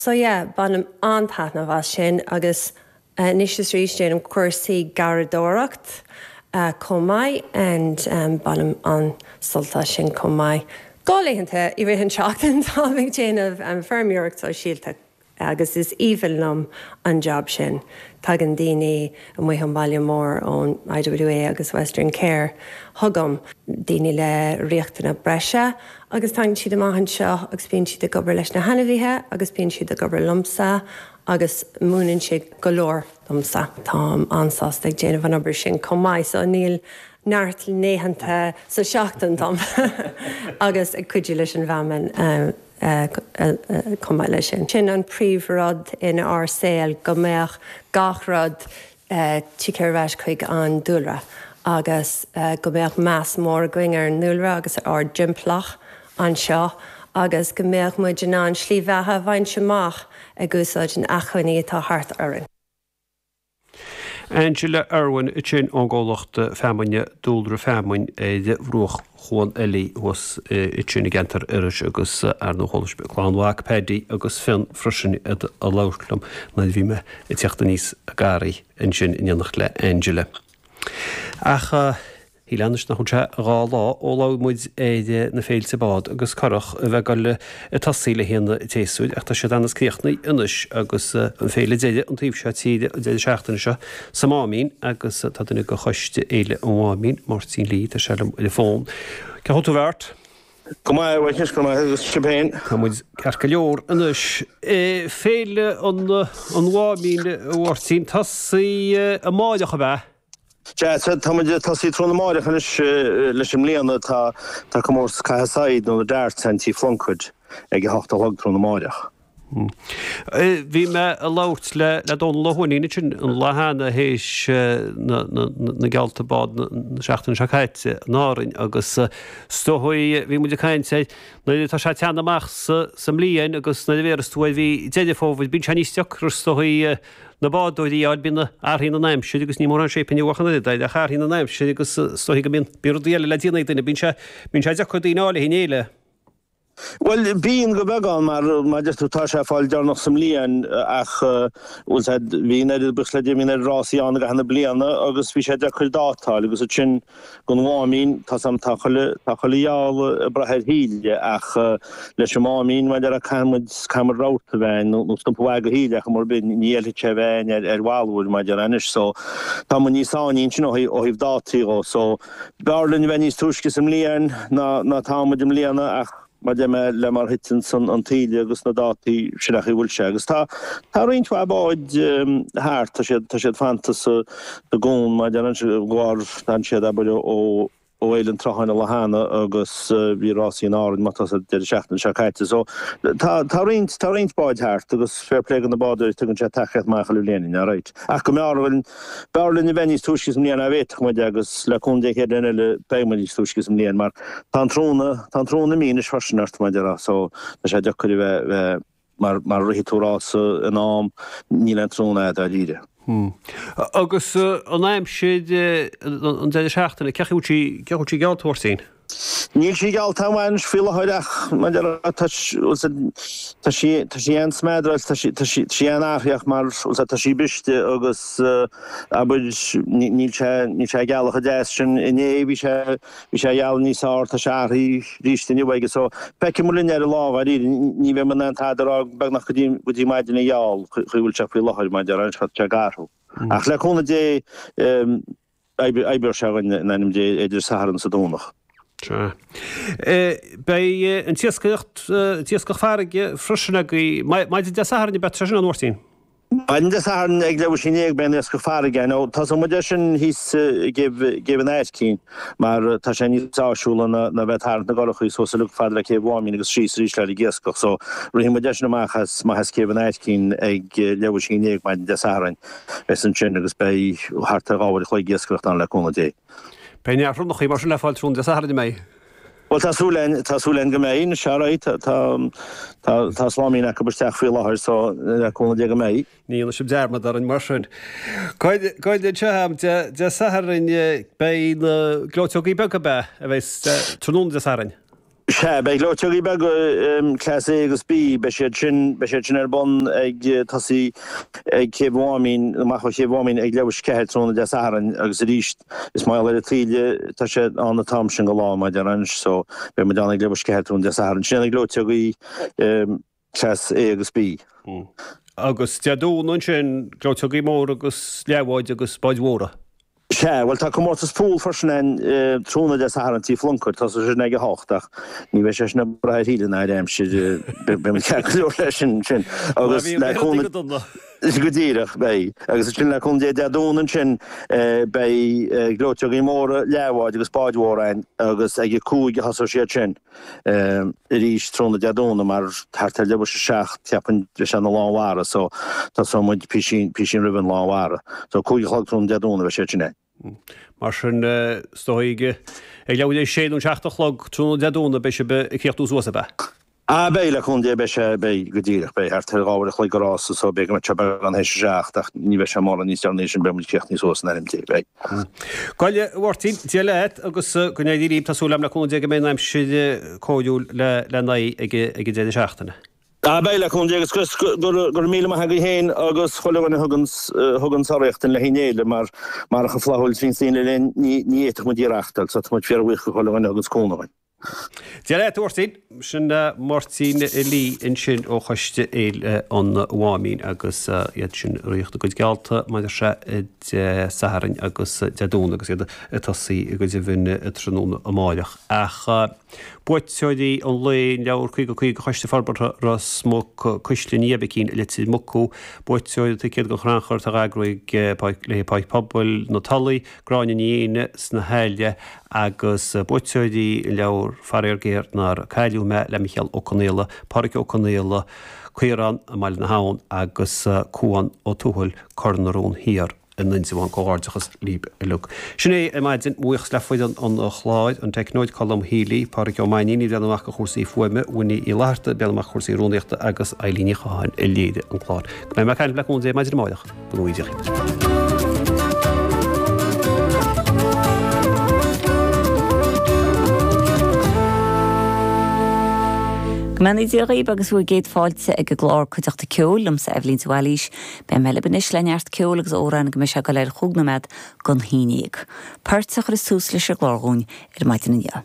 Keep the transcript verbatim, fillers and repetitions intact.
So yeah, bainim an-taitneamh as sin agus anois is arís déanaim cúrsaí garraíodóireacht uh, chomh maith and um, bainim an-sult as sin chomh maith. Go laethanta i rith an tseachtain tá ag déanamh an feirmeoireacht sóisialta agus is aoibhinn liom an job sin. Tagann daoine amuigh an baile mór ón I W A agus Western Care chugam, daoine le riachtanais breise agus tagann siad amach anseo agus bíonn siad ag obair leis na hainmhithe agus bíonn siad ag obair liomsa agus múineann sé go leor domsa. Táim an-sásta ag déanamh an obair sin chomh maith, so níl neart laethanta sa seachtain dom agus ag cuidiú leis an bhfeamainn um, chomh maith leis sin. Sin an príomhrud in ár saol, go mbeadh gach rud ag ar ais chuig an dúlra agus go mbeadh meas mór againn ar an ndúlra agus ár dtimpeallacht anseo agus go mbeadh muid in ann slí bheatha a bhaint amach ag úsáid an acmhainní atá thart orainn. Angela Irwin sin ón gcomhlacht feamainne Dúlra Feamainn ar bhruach Chuan Eilí thuas sin i gceantar Iorrais agus ar nó cholas clann mhac Paddy agus Fionn freisin ag labhairt liom nuair bhí mé ag teacht aníos an garraí ansin in éineacht le Angela. Ach uh, Hí leis nach sé dhá lá ó labhair muid ar na féilte bád agus curach a bheith le tosaí le linn an tséasúir ach tá siad an-chríochnaithe anois agus an féile deiridh an taobh seo tíre an deireadh seachtaine seo sa Máimín agus tá duine de choiste Fhéile an Mháimín, Máirtín Lee, tá sé liom ar an bhfón. Cén chaoi a bhfuil tú, a Mheáirt? Go maith, go maith agus sibh féin? Tá muid ceart go leor anois. Féile an an Mháimín, Mháirtín, tosaí amárach a bheith. Ja, tá muid tosaí tráthnóna amárach anois leis an mbliana. tá tá comórtas caitheamh saighead nó darts in Tigh Phlunkett ag a hocht a chlog tráthnóna amárach. Bhí mé ag labhairt le le Dónal Ó hUaithnín sin an lá cheana théis na geallta bád na seachtaine seo caite in Árainn agus is dóigh bhí muid ag caint air nuair atá sé teann amach sa sa mbliain agus nuair a bhéaras tú bhí Deireadh Fómhair, bíonn sé níos deacra is dóigh na bádóirí a bíonn athraíonn an aimsir agus ní mór an séipin an ach athraíonn an aimsir agus is dóigh go mbíonn bí rudaí eile le déanamh duine, bíonn sé bíonn sé deacair daoine áirithe in éile. Well, bíonn go beagán mar mar tú tá sé fáil dearnach sa mbliain ach bhfuil bhí buíochas le Dia bhí ar rásaí ann gach na bliana agus bhí sé deacair dátáil agus sin gon Mháimín tá sam tá chuile tá chuile gheall ag brath ar thaoille ach leis an Máimín mar a caithfimid caithfimid rabharta bheith nó stumpa go thaoille ach mar bin ní fheilfidh sé bheith ar ar bhalúir mar anois, so tá mu níos áín sin ó thaobh dátaí dhó, so b'fhearr linn bheith níos túisce sa mbliain ná ná táimid i mbliana ach mar de le mar thiteann san an taoille agus na dátaí sin a bhfuil sé agus tá tá roinnt mhaith báid thart, tá siad tá siad fanta sa gcuan mar an gáir tá siad abair ó ó Fhéile an tSrutháin an lá cheana agus bhí rásaí in Árainn má tá sa deireadh seachtaine seo caite, so tá tá roinnt tá roinnt báid thart agus fair play do na bádóirí, tugann sé tacaíocht maith chuile bhliain, alright. Ach go mb'fhearr b'fhearr linn a bheith níos túisce sa mbliain a bhféadfadh muid agus le cúnamh Dé chéad eile beidh muid níos túisce sa mbliain mar tá an tráthnóna tá an tráthnóna mínis freisin ort mar deara, so tá sé deacair a bheith bheith mar mar rithfidh tú rása in am níl an tráthnóna dáiríre. Hmm. Agus an aimsir an deireadh seachtaine, cén chaoi sí cén chaoi sí geallta, a Mháirtín? Níl sí geallta amháin faoi láthair ach tá tá sí tá sí an-smeadráil, tá sí tá sí sí an-athraitheach mar tá sí briste agus abair níl sé níl sé gealach a deas sin. Inné bhí sé bhí sé geal níos fearr, tá sé athraithe arís inniu agus so feicfidh muid linn ar an lá dáiríre. Ní bheidh mé in tada rá beagnach go dtí go dtí maidin a gheall chuí bhfuil sé faoi láthair mar deir sé ag athrú. Ach le cúnamh Dé oibreoidh sé in ainm Dé idir Satharn is Domhnach. Beidh an t-iascaireacht t-iascach farraige freisin agaibh maidin Dé Sathairn, beidh sin a Mháirtín. Maidin Dé Sathairn ag leathuair théis a naoi beidh an iascach farraige nó tá muid sin thíos gCéibh an Aircín mar tá sé níos áisiúla ná ná bheith tarraingt na gcurachaí suas uilig fad le Céibh Mháimín agus síos arís le ag iascach, so rithfidh muid sin amach as maith as Céibh an Aircín ag leathuair théis a naoi maidin Dé Sathairn is ansin agus beidh thart ar dhá uair a chloig iascaireacht ann le cúnamh Dé. Beidh neart ronnachaí mar sin le fáil tráthnóna Dé Sathairn mé. Well, tá súil tá súil go mbeidh sé tá tá tá sláimín acu isteach faoi láthair, so le cúnamh Dé go mbeidh. Ní dhéanfaidh sibh dearmad orainn mar sin. Goid seo Dé Sathairn beidh na gleoiteogaí beaga be a bheidh tráthnóna Dé Sathairn. Sea, beidh gleoiteogaí beaga Class A agus B, beidh siad sin, beidh siad sin ar bun ag tosaí ag Céibh Mháimín, amach ó Chéibh Mháimín ag leathuair tar éis a ceathair tráthnóna Dé Sathairn agus arís is mar gheall ar an taoille, tá sé ann an t-am sin go lá, mar a déarfá anois, so beidh muid ann ag leathuair tar éis a ceathair tráthnóna Dé Sathairn. Sin iad na gleoiteogaí Class A agus B. Agus Dé Domhnaigh ansin, gleoiteogaí móra agus leathbháid agus báid mhóra. Sea, bhuel tá comórtas pool freisin ann tráthnóna Dé Sathairn Tí Phluncair, tosóidh sé sin ag a hocht ach ní bheidh sé sin ag brath ar thaoille ná ar aimsir, beidh muid ceart go leor leis sin sin agus le cúnamh Go díreach, beidh. Agus ansin le cúnamh Dé Dé Domhnaigh ansin beidh gleoiteogaí móra, leathbháid agus báid mhóra ann agus ag a cúig a thosóidh siad sin arís tráthnóna Dé Domhnaigh mar thart ar leathuair tar éis a seacht cheapfainn beidh sé ina lán mhara so tosóidh muid písín písín roimh an lán mhara. So cúig a chlog tráthnóna Dé Domhnaigh beidh siad sin ann. Mar sin is dóigh ag leathuair tar éis a sé nó an seacht a chlog tráthnóna Dé Domhnaigh beidh sibh ag críochnú suas ab ea? Ah beidh, le cúnamh Dé beidh sé, beidh, go díreach, beidh thart ar dhá uair a chloig go rása so beidh go mbeidh sé beagán théis a seacht ach ní bheidh sé mórán níos deireanaí sin beidh muid críochnaithe suas in ainm Dé, beidh. Go hálainn a Mháirtín, Dia leat agus go n-éirí libh, tá súil agam le cúnamh Dé go mbeidh an aimsir cóiriúil le le n-aghaidh ag ag an deireadh seachtaine. Ah beidh, le cúnamh Dé agus go go raibh míle maith agaibh féin agus chuile dhuine a thugann thugann urraíocht dúinn le haghaidh an fhéile mar marach an flaithiúil a bhíonns daoine linn ní ní fhéadfadh muid í a reachtáil so tá muid fíorbhuíoch do chuile dhuine a thuganns cúnamh dúinn. Dia leat, a Mháirtín. Sin Máirtín Lee ansin ó Choiste Fhéile an Mháimín agus iad sin ag ritheacht a gcuid geallta maidir sé Dé Sathairn agus Dé Domhnaigh agus iad ag tosaí go deimhin tráthnóna amáireach. Ach buaiteoirí an lae, an leabhar caoga caoga Choiste Forbartha Ros Muc, Cuisle Ní Oibicín, Leitir Mucú, buaiteoir an ticéad don chrannchur atá á eagrú ag le Páirc Pobail na Tulaí, Gráinne Ní Éinne sna hAille agus buaiteoirí an leabhar Faraor Géar Nár Cailleadh Mé le Micheál Ó Conaola, Pádraig Ó Conaola, Caorán i mBaile na hAbhann agus Cuan Ó Tuathail, Cor na Rón Thiar in Indreabhán. Comhghairdeachas libh uilig. Sin é ar maidin. Buíochas le foireann an chláir, an teicneoir Colm Healy, Pádraig Ó Mainnín ag breathnú amach do chúrsaí fuaime, Winnie Uí Fhlatharta ag breathnú amach do chúrsaí rúnaíochta agus Eilín Ní Chatháin a léirigh an clár. Go mbeidh mé ag caint libh le cúnamh Dé maidin amárach. Go ngnóthaí Dia dhaoibh. Go mbeannaí Dia dhaoibh agus bhur gcéad fáilte ag an gclár Cuideachta Ceoil liomsa Eibhlín de Bhailís. Beidh mé libh anois le neart ceoil agus amhráin go mbeidh sé ag dul ar chúig nóiméad don haon déag. Port a chuirfeas tús leis an gclár dhúinn ar maidin inniu.